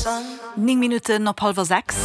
9 Minutten op hallwer 6.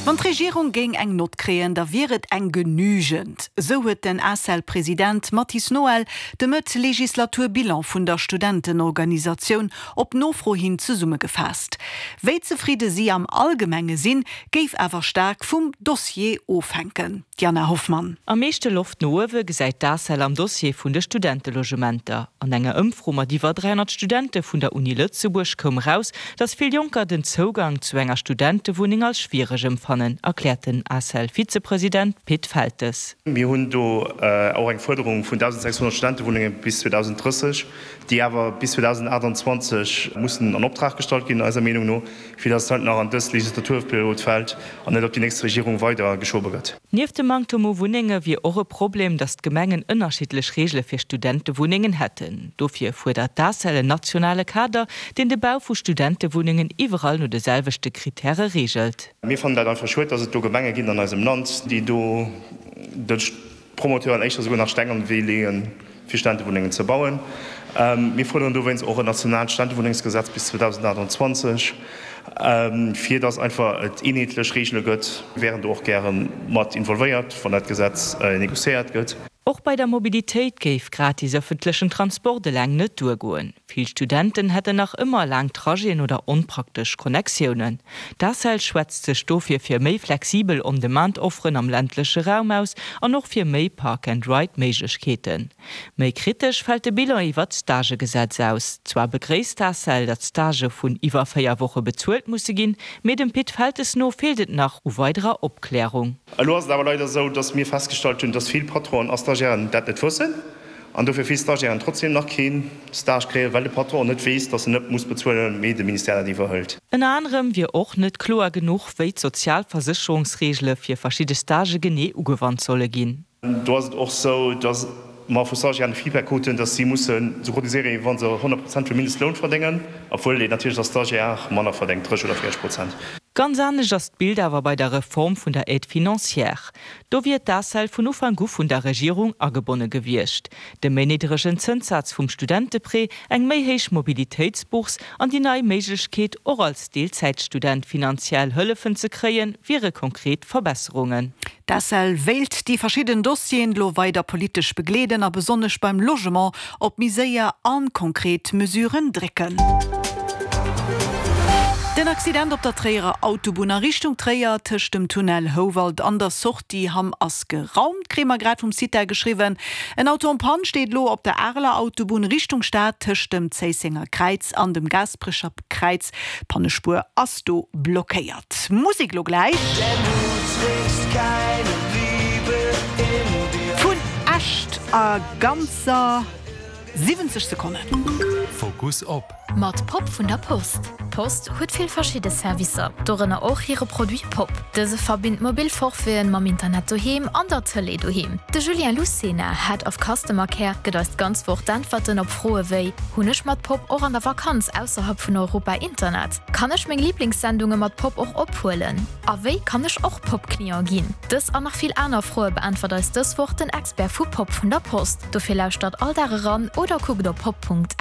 Wann d'Regierung géing eng Nott kréien, da wier et eng genügend. Esou huet den ACEL-President Mathis Noël de Mëtt-Legislatur-Bilan vun der Studentenorganisatioun op Nofro hin zesummegefaasst. Wéi zefridde si am Allgemenge sinn, géif awer staark vum Dossier ofhänken. D'Jana Hoffmann. Am meeschte Loft no uewe gesäit d'ACEL am Dossier vun de Studentelogementer. An enger Ëmfro mat iwwer 300 Studente vun der Uni Lëtzebuerg koum eraus, datt vill Jonker den Zougang zu enger Studentewunneng als schwiereg ëmfannen, erkläert den ACEL-Vizepresident Pit Feltes. Mir hunn do och eng Fuerderung vun 1.600 Studentewunnenge bis 2030, déi awer bis 2028 mussen an Optrag gestallt ginn, eiser Meenung no, fir datt et halt nach an dës Legislaturperiod fält an net op déi nächst Regierung weider geschobe gëtt. Nieft dem Manktem u Wunnenge wier och e Problem, datt d'Gemengen ënnerschiddlech Reegele fir Studentewunnengen hätten. Dofir fuerdert d'ACEL en nationale Kader, deen de Bau vu Studentewunnengen iwwerall no de selwechte Krittäre reegelt. Mir fannen dat einfach schued, datt et do Gemenge ginn an eisem Land, déi do de Promoteuren éischter souguer nach Steng an de Wee leeën, fir Stentewunnengen ze bauen. Mir fuerderen dowéinst och en nationaalt Stentewunnengsgesetz bis 2028, fir datt einfach et eenheetlech Reegele gëtt. Mir wären do och gäre mat involvéiert, wann dat Gesetz négociéiert gëtt. Och bei der Mobilitéit géif gratis ëffentlechen Transport eleng net duergoen. Vill Studenten hätten nach ëmmer laang Trajeten oder onpraktesch Connectiounen. D'ACEL schwätzt sech dofir fir méi flexibel On-Demand-Offeren am ländleche Raum aus an och fir méi Park-and-Ride-Méiglechkeeten. Méi kritesch fält de Bilan iwwer d'Stagegesetz aus. Zwar begréisst d'ACEL, datt Stagë vun iwwer 4 Woche bezuelt musse ginn, mee dem Pit Feltes no feelt et nach u weiderer Opklärung. Elo ass et awer leider esou, datt mir festgestallt hunn, datt vill Patronen a Stagiairen dat net wëssen. An dofir vill Stagiairen trotzdem nach keen Stage kréien, well de Patron net weess, dass en net muss bezuelen, mee de Ministère dat iwwerhëlt. Ënner anerem wier och net kloer genuch, wéi d'Sozialversécherungsreegele fir verschidde Stagë genee ugewannt solle ginn. Do ass et och sou, dass mer vu Stagiairen de Feedback kruten, dass si mussen sou cotiséieren, wéi wa se 100 Prozent vum Mindestloun verdéngen, obwuel een natierlech als Stagiaire manner verdéngt, 30 oder 40 Prozent. Ganz anescht ass d'Bild awer bei der Reform vun der Aide financière. Do wier d'ACEL vun Ufank u vun der Regierung agebonne gewiescht. De méi niddregen Zënssaz vum Studenteprêt, eng méi héich Mobilitéitsbourse an déi nei Méiglechkeet, och als Deelzäitstudent finanziell Hëllefen ze kréien, wiere konkret Verbesserungen. D'ACEL wéilt déi verschidden Dossieren elo weider politesch begleeden a besonnesch beim Logement op méi séier a konkret Mesuren drécken. Den Accident op der Tréierer Autobunn a Richtung Tréier tëscht dem Tunnel Houwald an der Sortie Hamm ass geraumt, kréie mer grad vum CITA geschriwwen. En Auto en panne steet elo op der Areler Autobunn Richtung Stad tëscht dem Zéissenger Kräiz an dem Gaasperecher Kräiz. D'Pannespuer ass do blockéiert. Musek lo gläich vun Echt a ganzer 70 Sekonnen. Fokus op. Mat Pop vun der Post. D'Post huet vill verschidde Servicer, dorënner och hire Produit Pop. Dëse verbinnt mobil Forfaiten mam Internet doheem an der Tëlee doheem. De Julien Lucena, Head of Customer Care, gëtt eis d'ganz Woch d'Äntwerten op Froe wéi, Hunn ech mat Pop och an der Vakanz ausserhalb vun Europa Internet? Kann ech meng Liblingssendunge mat Pop och ophuelen? A wéi kann ech och Pop-Client ginn? Dës an nach vill aner Froe beäntwert eis dës Woch den Expert vu Pop vun der Post. Dofir lauschtert all Dag eran oder kuckt op pop.lu.